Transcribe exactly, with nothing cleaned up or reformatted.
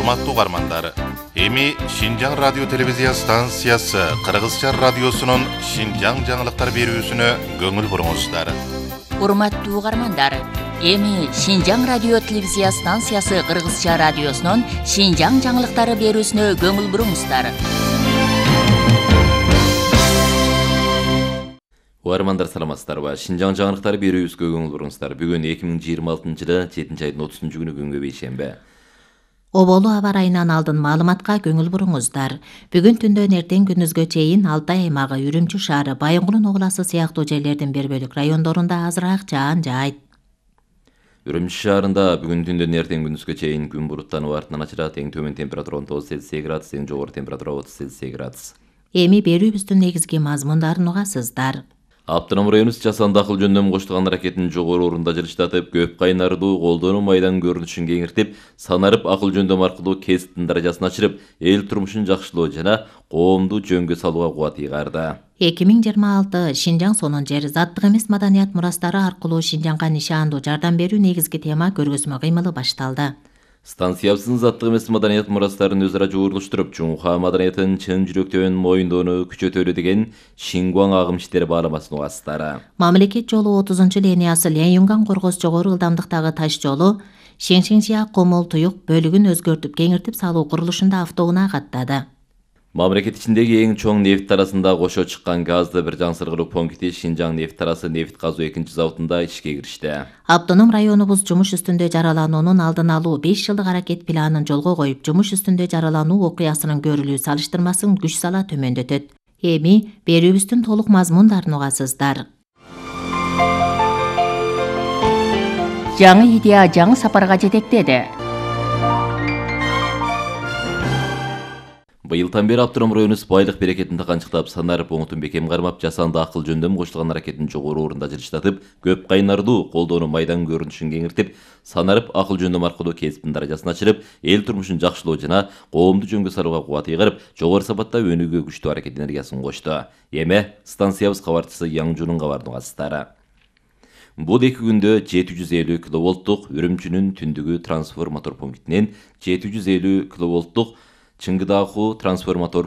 Урматтуу угармандар, эми Шинжаң радио телевизия станциясы Кыргызча радиосунун Шинжаң жаңылыктар берүүсүнө көңүл буруңуздар. Урматтуу угармандар, эми Шинжаң радио телевизия станциясы Кыргызча радиосунун Шинжаң жаңылыктары берүүсүнө көңүл буруңуздар. Угармандар саламатсыздарбы? Шинжаң жаңылыктары берүүбүзгө көңүл буруңуздар. Бүгүн эки миң жыйырма алтынчы жылы жетинчи айдын отузунчу күнү күнгө бейшембе. Оболу аба райынан алдын маалыматка көңүл буруңуздар. Бүгүн түндөн эртең күнүзгө чейин Алтай аймагы, Үрүмчү шаары, Байынгулун областы сыяктуу жерлердин бир бөлүк райондорунда азыраак жаан жаайт. Үрүмчү шаарында бүгүн түндөн эртең күнүзгө чейин күн буруттанып артынан ачылат. Эң төмөн температура он тогуз Цельсий градус, эң жогору температура отуз Цельсий градус. Эми берүүбүздүн негизги мазмундарын угасыздар. Автоном районубуз жасанды акыл жөндөмү коштулган аракетин жогору орунда жылыштатып, көп кайнардуу колдонуу майдан көрүнүшүн кеңиртип, санарып акыл жөндөм аркылуу кесиптин даражасын ачырып, эл турмушун жакшылоо жана коомду жөнгө салууга кубат ыйгарды. эки миң жыйырма алты Шинжаң сонун жер, заттык эмес маданият мурастары аркылуу Шинжаңга нишандуу жардам берүү негизги тема көргөзмө кыймылы башталды. Станциябыздын заттык эмес маданият мурастарын өзара жуурулуштуруп, Чуңха маданиятын чын жүрөктөн моюндоону күчөтөлү деген Шингуаң агым иштери бааламасын угасыздары. Мамлекет жолу отузунчу линиясы Ленюнган Коргоз жогору ылдамдыктагы таш жолу Шеңшеңжия Комол Туюк бөлүгүн өзгөртүп кеңиртип салуу курулушунда автоунаа каттады. Мамлекет ичиндеги эң чоң нефт тарасында кошо чыккан газды бир жаңсыргылуу пункти Шинжаң нефт тарасы нефт казуу экинчи заводунда ишке киришти. Автоном районубуз жумуш үстүндө жаралануунун алдын алуу беш жылдык аракет планын жолго коюп, жумуш үстүндө жаралануу окуясынын көрүлүү салыштырмасын күч сала төмөндөтөт. Эми берүүбүздүн толук мазмундарын угасыздар. Жаңы идея жаңы сапарга жетектеди. Быйылдан бери Автоном районубуз байлык берекетин таканчыктап, санарып оңутун бекем кармап, жасанды акыл жөндөмү коштулган аракетин жогору орунда жылыштатып, көп кайнардуу колдонуу майдан көрүнүшүн кеңиртип, санарып акыл жөндөм аркылуу кесиптин даражасын ачырып, эл турмушун жакшылоо жана коомду жөнгө салууга кубат ыйгарып, жогору сапатта өнүүгө күчтүү аракет энергиясын кошту. Эми станциябыз кабарчысы Яңжунун кабарын угасыздар. Бул эки күндө жети жүз элүү киловолттук Үрүмчүнүн түндүгү трансформатор пунктинен жети жүз элүү киловолттук Чыңгыдааху трансформатор